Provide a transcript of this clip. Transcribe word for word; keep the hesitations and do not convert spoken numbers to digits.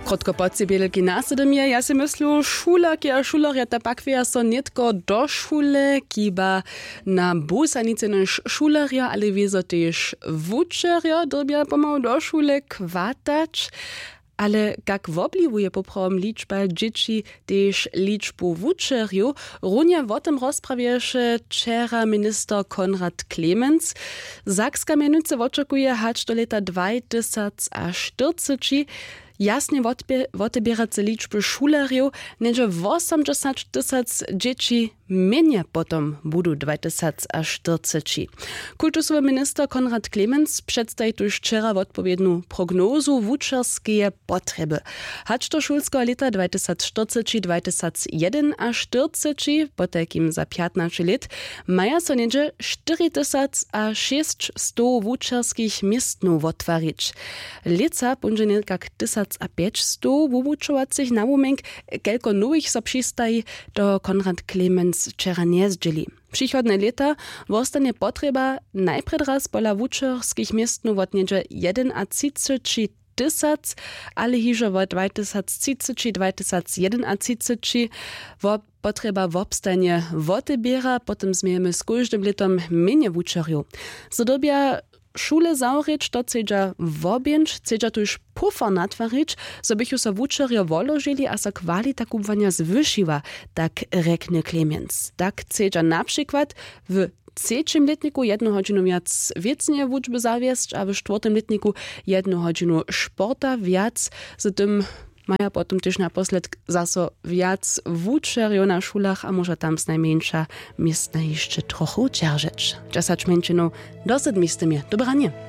Krótko po cibělki nasydym je, ja sej myslu, šulerki a šulerjo, ta pakweja so nětko do šule, kiba na busanicy nož šulerjo, ale wězo tež wučerjo dyrbja pomału do šule kwatać. Ale kak wobliwuje poprawom ličba dźěći tež ličbu wučerjow? Runje wo tym rozprawješe wčera minister Konrad Clemens. Sakska mjenujcy wočakuje hač do lěta dwajtysac a štyrceći jasnje wotbě- woteběrace ličby šulerjow, něhdźe wosomdźesać tysac dźěći mjenje potom budu dwajtysac a štyrceći. Kultusowy minister Konrad Clemens předstaji tuž wčera wotpowědnu prognozu wučerskeje potrjeby. Hač do šulskeho lěta dwajtysac štyrceći dwajtysac jedynaštyrceći, potajkim za pjatnaće lět, maja so něhdźe štyri tysac a šěsćstow wučerskich městnow wottwarić. Lětsa póńdźe někak tysac a pjećstow wuwučowacych nawumjenk, kelko nowych so přistaji, to Konrad Clemens wčera njezdźěli. Přichodne lěta wostanje potrjeba najprjedy raz pola wučerskich městnow wot něhdźe jedynaćtřiceći tysac, ale hižo wot dwajtysac třiceći dwajtysac jedynaćtřiceći wo- potrjeba wobstajnje woteběra, potom změjemy z kóždym lětom mjenje wučerjow. Zo dyrbja šule zawrěć, to chcedźa wobjěnć, chcedźa tuž pufor natwarić, zo bychu so wučerjo woložili a so kwalita kubłanja zwyšiła, tak rjekny Clemens. Tak chcedźa na přikład w třećim lětniku jednu hodźinu wjac wěcneje wučby zawjesć a w štwórtym lětniku jednu hodźinu sporta wjac. Z tym maja potom tež naposledk zaso wjac wučerjow na šulach a móža tam znajmjeńša městna hišće trochu dźeržeć. Dźesać mjeńšinow do sydmi z tym je dobranje.